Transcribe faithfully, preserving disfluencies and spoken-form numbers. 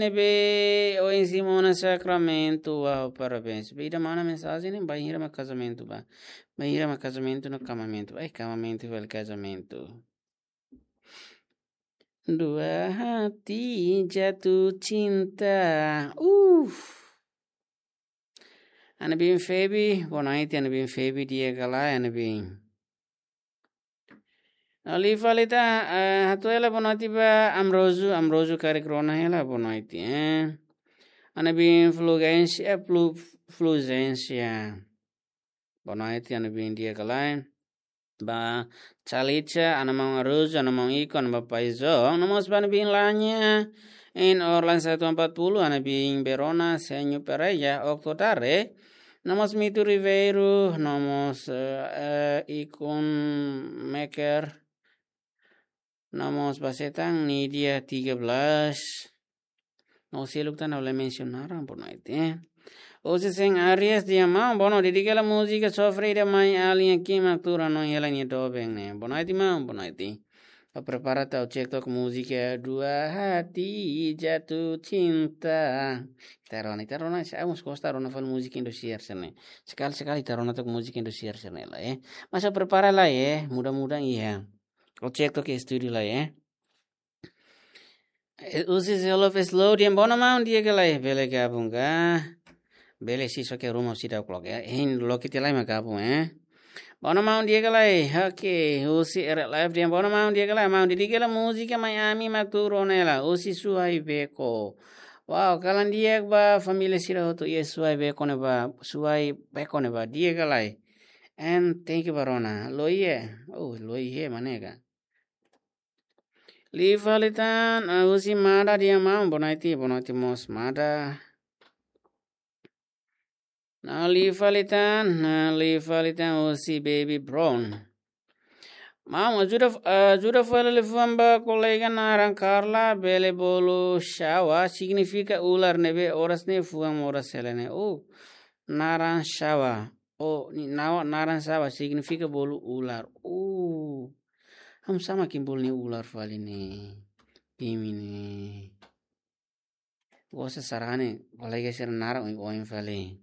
ne'ebé ohin simu ona sakramentu, uau, parabéns. Be ida mana mensajen ne'e, bainhira mak kazamentu ba. Bainhira mak kazamentu no kamamentu. Ai, kamamentu fali kazamentu. Dua hati jatuh cinta. Uf. Ana bin Febi, boa noite, ana bin Febi, di'ak ka lae, ana bin. Oli falita, eh, hatu hela boa noite ba Amrozu, Amrozu karik rona hela boa noite, eh. Ana bin Fulgênsia, Flu-, Fulgênsia. Boa noite, ana bin di'ak ka lae. Ba Chalicha, ana maun Arujo, ana maun Iko, ana ba Paizo, nomós ba ana bin Lanya, in Orlan satu empat puluh, ana bin Berona, Senhor Pereira, Octo Dare, nomós Mitu Ribeiro, nomós, eh, eh, Ikun Maker, nomós ba Setang, Nidia tiga belas, no seluk tan ha'u la mensiona naran, boa noite, eh. Husi Sen Arias, di'ak maun, boa noite, dedika hela múzika Sofre ida mai alin kimak tura no hela nia doben ne'e. Boa noite, maun, boa noite. Ba prepara atu ha'u cek took múzika Dua Hati Jatuh Cinta. Ita rona, ita rona, se amus kosta rona fali múzika Indosiar sira ne'e. Sekali-sekali ita rona took múzika Indosiar sira ne'e lai, eh. Mas ha'u prepara lai, eh, mudah-mudahan iha. Ha'u cek took estúdiu lai, eh. Eh, husi Self Slow, di'ak ona maun, di'ak ka lae, bele gabung ka? Bele sih, só ke ruma husi dauk loke, eh. Hein loke tiha lai mak gabung, eh. Ona maun, di'ak ka lae, oke, husi R L F, di'ak ona maun, di'ak ka lae, maun, dedika hela múzika mai ami mak atu rona hela, husi Suai Beko. Wow, kalan di'ak ba família sira hotu, iha Suai Beko ne'ebá, Suai Beko ne'ebá, di'ak ka lae. And thank you ba rona, loie, oh, loie, manega. Li fali tan, ah, husi Mada, di'ak maun, boa noite, boa noite mós Mada. Nah, li fali tan, nah, li fali tan husi Baby Brown. Maun, ajuda, ajuda fali liafuan ba kolega naran Carla, bele bolu xawa, signifika ular ne'ebé oras ne'e fuan moras hela ne'e. Oh, naran xawa. Oh, nia naran xawa signifika bolu ular. Oh. Hamsa mak imi bolu nia ular fali ne'e. Imi ne'e. Gosta sarani, kolega sira naran oioin fali.